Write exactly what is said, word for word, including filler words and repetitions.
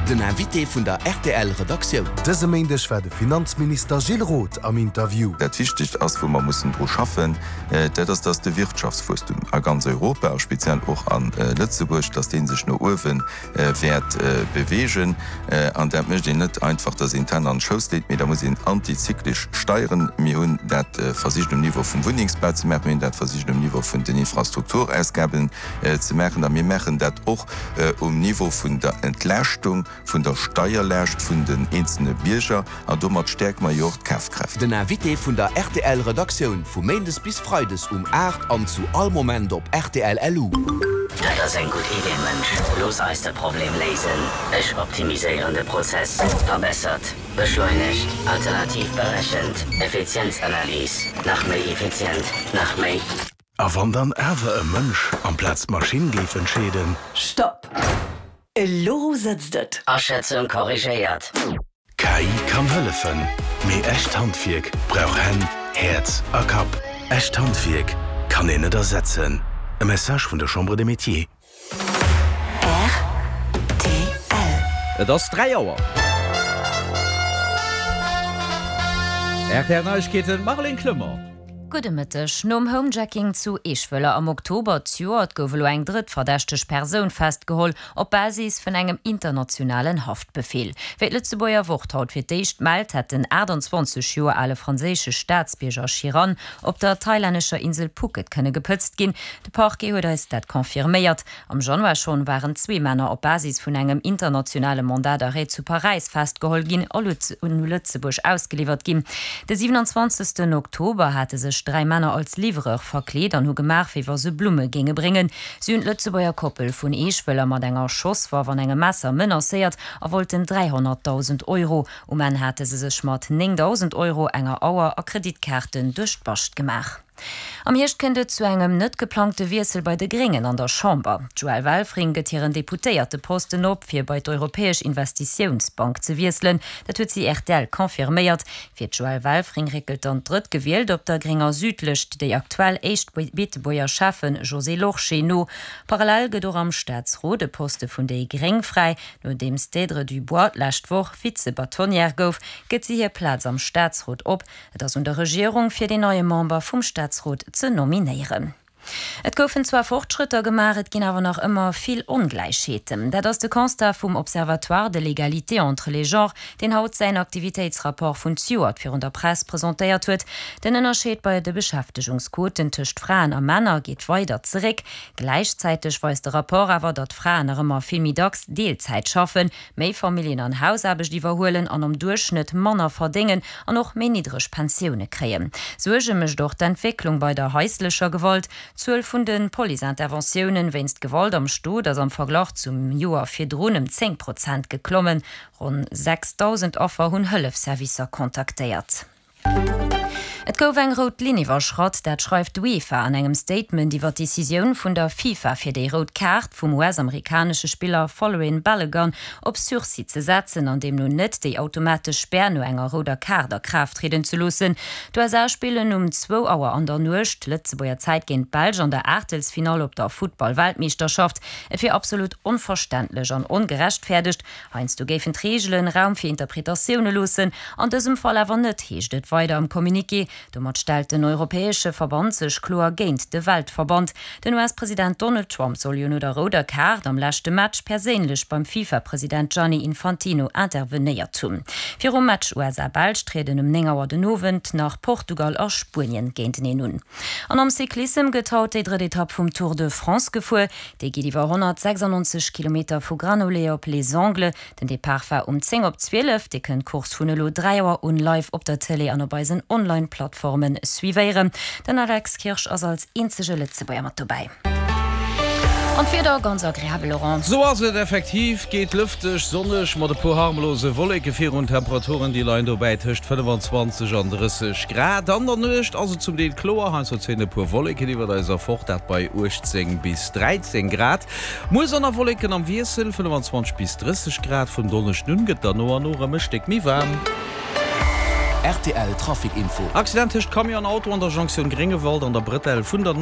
Den Invité vun der R T L Redaktioun. Dëse Méindeg war de Finanzminister Gilles Roth am Interview. Dat Wichtegst ass, wou mer mussen dru schaffen, äh, dat ass, dass de Wirtschaftswuesstum a ganz Europa, speziell och an äh, Lëtzebuerg, dass dee sech no uewen äh, wäert äh, beweegen äh, an dat mécht een net einfach, dass een d'Hänn an Schouss leet, mee da muss een antizyklesch steieren. Mir hunn dat äh, versicht um Niveau vum Wunnengsbau ze maachen, mir hunn dat versicht um Niveau vun den Infrastrukturausgaben äh, ze maachen, a mir maachen dat och äh, um Niveau vun der Entlaaschtung vun der Steierlaascht vun den eenzelne Bierger an domat stäerke mer jo och d'Kafkraaft. Den Invité vun der R T L Redaktioun vu Méindes bis Freides um aacht an zu all Moment op R T L L U. Dat ass eng gutt Idee, Mënsch. Looss eis de Problem léisen. Ech optimiséieren de Prozess. Verbessert, beschleunegt, alternativ berechent, Effizienzanalys, nach méi effizient, nach méi. A wann dann awer e Mënsch amplaz d'Maschinn géif entscheeden? Stopp! Elo sëtzt et. Aschätzung korrigéiert. K I kann hëllefen, mee echt Handwierk brauch Hänn, Häerz a Kapp. Echt Handwierk kann een net ersetzen. E Message vun der Chambre des Métiers. R T L. Et ass dräi Auer. R T L Neiegkeeten, Marlène Clement. Gudde Mëtteg. Nom Homejacking zu Eschwëller am Oktober zejoert gouf elo eng drëtt verdächteg Persoun festgeholl op Basis vun engem internationalen Haftbefeel. Wéi d'Lëtzebuerger Wort haut fir d'éischt mellt, hätt den achtanzwanzeg Joer ale franséische Staatsbierger Chiran op der thailännescher Insel Phuket kënne gepëtzt ginn. De Parquet huet eis dat confirméiert. Am Januar schonn waren zwee Männer op Basis vun engem internationale Mandat d'arrêt zu Paräis festgeholl ginn a un Lëtzebuerg ausgeliwwert ginn. De siewenundzwanzegsten Oktober hate sech dräi Männer als Livreur verkleet an hu gemaach, wéi wa se Blumme géinge bréngen. Si hunn d'Lëtzebuerger Koppel vun Eschwëller mat enger Schosswaff an engem Messer menacéiert a wollten dräihonnertdausend Euro. Um Enn hate se sech mat néngdausend Euro, enger Auer a Kreditkaarten duerch d'Bascht gemaach. Am Hierscht kënnt et zu engem net geplangte Wiessel bei de Gréngen an der Chamber. D'Joëlle Welfring gëtt hiren Deputéierteposten op, fir bei d'Europäesch Investitiounsbank ze wiesselen. Dat huet si R T L confirméiert. Fir d'Joëlle Welfring réckelt dann d'Drëttgewielt op der grénger Südlëscht, déi aktuell éischt Beetebuerger Schäffen Josée Lorsché no. Parallel gëtt och am Staatsrot e Poste vun déi Gréng fräi, nodeems d'Deirdre Dubois d'lescht Woch Vize-Bâtonnière gouf, gëtt si hir Plaz am Staatsrot op. Et ass un der Regierung, fir den neie Member vum Staatsrot ze nominéieren. Et goufen zwar Fortschrëtter gemaach, et ginn awer nach ëmmer vill Ongläichheeten. Dat ass de Constat vum Observatoire de l'égalité entre les genres, deen haut säin Aktivitéitsrapport vun zejoert virun der Press presentéiert huet. Den Ënnerscheed bei de Beschäftegungsquoten tëscht Fraen a Männer geet weider zeréck. Gläichzäiteg weist de Rapport awer, datt Fraen nach ëmmer vill méi dacks Deelzäit schaffen, méi Familljen an Hausaarbecht iwwerhuelen an am Duerchschnëtt manner verdéngen an och méi niddreg Pensioune kréien. Suerge mécht och d'Entwécklung bei der haislecher Gewalt. D'Zuel vun de Police-Interventiounen wéinst Gewalt am Stot ass am Verglach zum Joer virdrun ëm zéng Prozent geklommen. Ronn sechsdausend Affer hunn Hëllefsservicer kontaktéiert. Et gouf eng rout Linn iwwerschratt, dat schreift d'UEFA an engem Statement iwwer d'Decisioun vun der FIFA fir déi rout Kaart vum U S-amerikanesche Spiller Folarin Balogun op Sursis ze setzen an deemno net déi automatesch Spär no enger rouder Kaart a Kraaft trieden ze loossen. D'U S A spillen um zwou Auer an der Nuecht Lëtzebuerger Zäit géint d'Belsch an der Aachtelsfinall op der Futtball-Weltmeeschterschaft. Et wier absolut onverständlech an ongerechtfäerdegt. Heiansdo géifen d'Reegelen Raum fir Interpretatioune loossen, an dësem Fall awer net, heescht et weider am Communiqué. Domat stellt den europäesche Verband sech kloer géint de Weltverband. Den U S-President Donald Trump soll jo no der rouder Kaart am leschte Match perséinlech beim FIFA-President Gianni Infantino intervenéiert hunn. Virum Match U S A-Belsch trieden um néng Auer den Owend nach Portugal a Spuenien géinteneen un. An am Cyclissem gëtt haut déi drëtt Etapp vum Tour de France gefuer. Déi geet iwwer honnertsechsannonzeg Kilometer vu Granollers op Les Angles. Den Depart war um zéng op zwielef. Dir kënnt d'Course vun elo dräi Auer un live op der Tëlee an op eisen Online-Plattforme suivéieren. Den Alex Kirsch ass als eenzege Lëtzebuerger mat dobäi. An d'Wieder ganz agreabel, Laurent. Sou ass et effektiv, geet lëfteg, sonneg mat e puer harmlose Wolleke virun. Temperaturen déi leien dobäi tëscht fënnefenzwanzeg an drësseg Grad. An der Nuecht ass et zum Deel kloer, heiansdo zéien e puer Wolleken iwwer eis erfort, dat bei uechtzéng bis dräizéng Grad. Muer Sonn a Wolleken am Wiessel, fënnefenzwanzeg bis drësseg Grad. Vum Donneschden un gëtt dann no an no erëm e Stéck méi waarm. R T L Trafic Info. Accident tëscht Camion an Auto an der Jonktioun Gréngewald an der Brëtell vun der